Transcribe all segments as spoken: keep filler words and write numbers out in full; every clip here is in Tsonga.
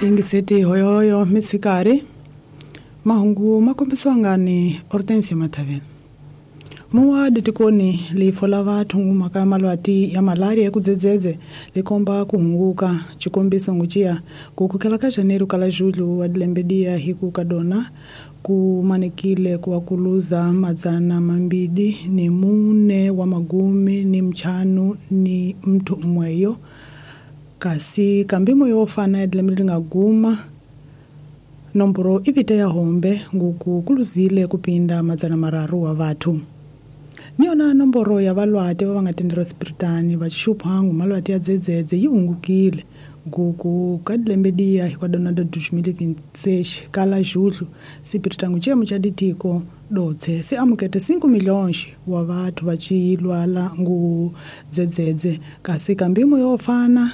Ingiseti hoyohoyo mitsikari mahungu makombisiwa ngani Hortensia Mathavela. Muwa ditikoni lifo la vathu ngumaka malwati ya malaria kudzedzedze likomba kuhunguka chikombiso nguchia kukhela ka janeiro kala julho wa dilembedia hiku kadona kumanekile kuwakuluza madzana mambidi ni mune wa magumi ni mchanu ni mtu mweyo kasi kambimo yofana dilembe lingaguma nomboro ivite ya hombe nguku kuluzile kupinda madzana mararu wa vathu. Niona nomboro ya valwati va nga tendera spiritani va xuphangu malwati ya dzedzedze yi hungukile nguku ka dilembedia hi kwa dona dois mil e vinte e seis kala julho sipiritangu chemo cha ditiko dotse se amukete cinco milhões wa vathu va chilwala ngu dzedzedze kasi kambimo yofana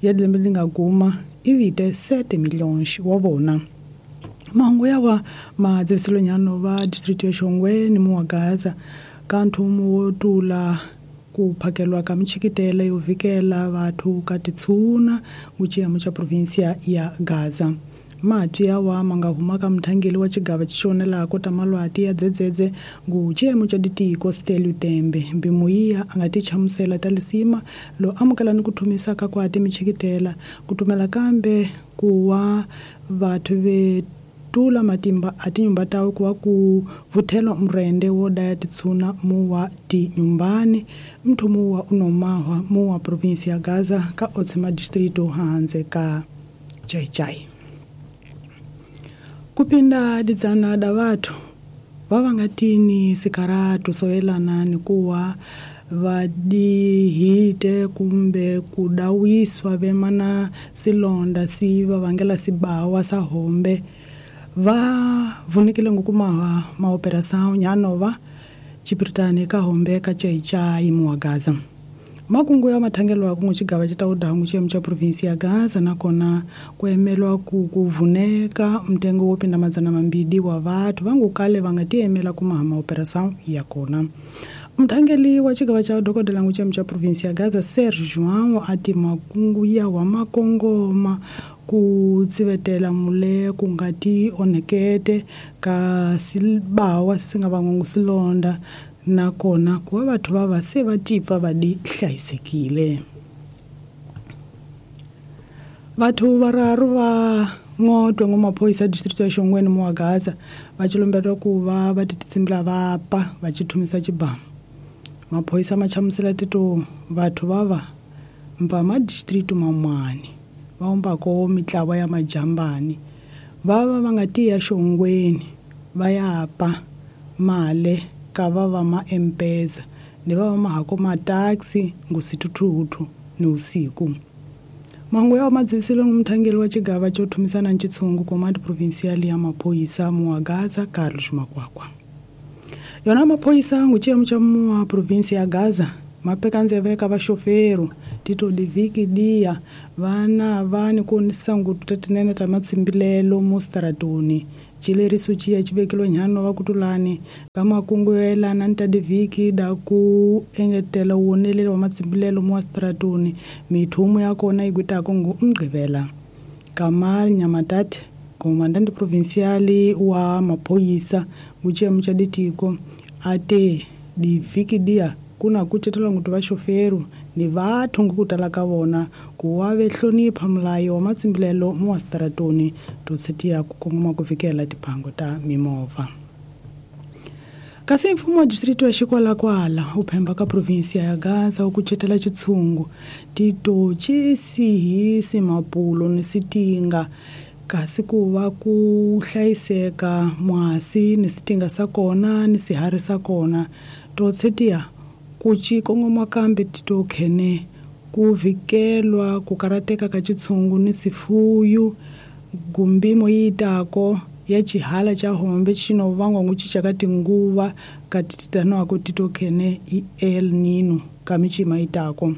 ya dilembe lingaguma ivite sete milhões wa vona. Mahungu yawa madzivisilonyano va district ya Shongwe ni muwa Gaza kanthumu wo tula ku phakelwa ka michikitela yo vikela vathu ka titshuna nguchiyamo cha provinsia ya Gaza. Matwi yawa manga huma ka mthangeli wa chigava chixonelako ta malwati ya dzedzedze nguchiyemo cha ditiko Stelu Tembe mbimuyiya a nga ti chamusela ta lisima lo amukela ni ku thumisa ka kwati michikitela ku tumela kambe kuwa vathu ve tula matimba a tinyumba tawe kuwa ku vuthelwa mrende wo daya titshuna muwa tinyumbani mthu muwa unomahwa muwa provinsi ya Gaza ka otsema distrito hanze ka Chaichai. Kupinda didzana da vathu va va nga tini sikaratu soyelana ni kuwa vadihite kumbe kudawiswa vemana silonda si va vangela sibawa sa hombe va vunikile ngukumaha maoperação nyanova chipiritani ka hombe ka Chaichai muwa Gaza. Makungu ya mathangelo ya kungu chigava chitaudangu chiyemo cha provinsi ya Gaza nakona kuemelwa ku kuvuneka mtengo wo pinda madzana mambidi wa vathu vangu kale va nga tiemela kumaha maoperação ya kona. Mthangeli wa chigava cha dokodela ngu chiyemo cha provinsi ya Gaza Serge João ati makungu ya wa makongoma ku tsivetela mule ku nga ti onhekete ka sibawa si nga vangongo silonda nakona kuva vathu va va se va tipfa va di hlayisekile. Vathu vararu va ngotwe ngumaphoyisa district ya Shongweni muwa Gaza va chilombetwa ku va va tititsimbila va pa va chithumisa chibamu. Maphoyisa ma chamusela tito vathu va va mpa ma district mamwani va umbako mitlawa ya majambani va va va nga tiya Shongweni va ya pa male ka va va ma M-Pesa ni va va mahako ma taxi ngusithuthuthu ni usiku. Mahungu ya madziviselo ngumthangeli wa chigava cho thumisana ntshungu command provincial ya maphoyisa muwa Gaza Carlos Makwakwa. Yona maphoyisa nguchiyemo cha muwa provinsi ya Gaza mapeka ndzeve ka vaxoferu tito diviki dia vana vani kuonisa ngutu ta matsimbilelo mustaratoni chileriso chiya chivekelo nyano va kutulani ka makungu yo yelana ni ta diviki da ku engetela wonelelo wa matsimbilelo mustaratoni mithumu ya kona yi gwitako ngu mgqivela. Kamal Nyamatati komandante provincial wa maphoyisa nguchiyemo cha ditiko ate diviki dia kuna kucetela ngutu vaxoferu ni vathu ngukutala ka vona ku wa ve hlonipha mulayo wa matsimbilelo muwastaratoni to setiya ku kongoma ku fikela tiphango ta mimovha. Kasi mfumo wa district wa Xikwalakwala wu phemba ka provinsi ya Gaza wu kucetela chitshungu tito chisihisi mapulo ni sitinga kasi ku va ku hlayiseka mwasi ni sitinga sa kona ni sihari sa kona to setiya ku ci kongoma kambe tito khene ku vikelwa ku karateka ka chitshungu ni sifuyu gumbimo yitako ya chihala cha hombe chino vangwa nguchicha ka tinguva ka tititanoako tito khene i El Nino ka michima itako.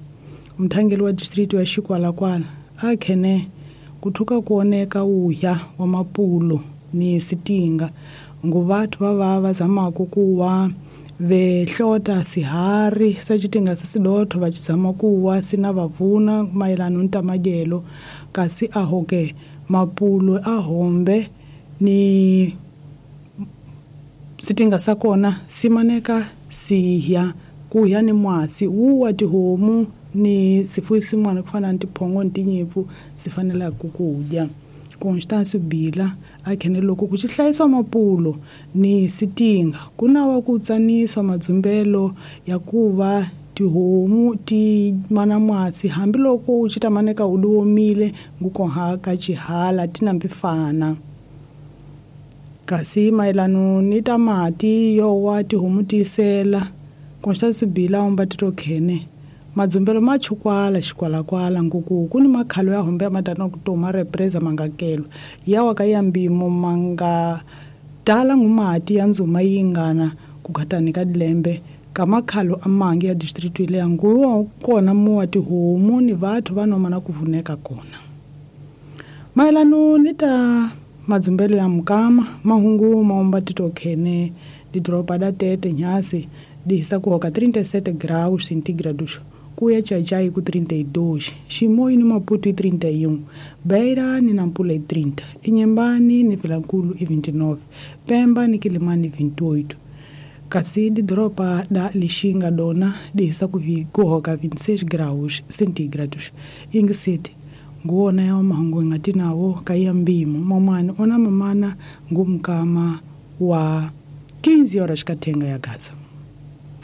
Mthangeli wa district wa Xikwalakwala a khene kuthuka kuoneka uya wa mapulo ni sitinga ngu vathu va va va zamako kuwa vehlota sihari sa chitinga sa sidotho va chizama kuwa sina vavuna mayelano ni ta madyelo kasi ahoke Mapulo a hombe ni sitinga sakona simaneka sihya kuya ni mwasi wuwa tihomu ni sifuyo swin'wana ku fana ni tiphongo ni tinyimpfu swi fanelaka ku dya. Constance Bila a khene loko ku xihlayiswa mapulo ni sitinga ku na wa ku tsaniswa madzumbelo ya ku va tihomu ti mana mwasi hambiloko u xi tamaneka u diomile ngukoha ka xihala ti nambi fana. Kasi mayelano ni ta mati yo wa tihomu tisela Constance Bila umba tito khene madzumbelo ma chukwala xikwalakwala nguku ku ni makhalo ya hombe ya madana ku toma represa mangakelo ya wa ka ya mbimo manga tala ngumati ya nzuma yingana ku khatani ka dilembe ka makhalo amangi ya district ile ya nguwa kona muwa tihomu ni vathu va nomana ku vuneka kona. Mayelano ni ta madzumbelo ya mukama mahungu maomba tito khene didoropa da Tete nyasi dihisa ku hoka trinta e sete graus centígrados kuya Chachai ku trinta e dois, Chimoio ni Maputo e trinta e um, Beira ni Nampula e trinta, Inhambane ni Vilankulo e vinte e nove, Pemba ni Quelimane e vinte e oito. Kasi didoropa da Lixinga dona dihisa ku hoka vinte e seis graus centígrados. Ingiseti nguona ya mahungu ingatinawo kaya mbimo mamani ona mamana ngumkama wa quinze horas katenga ya Gaza.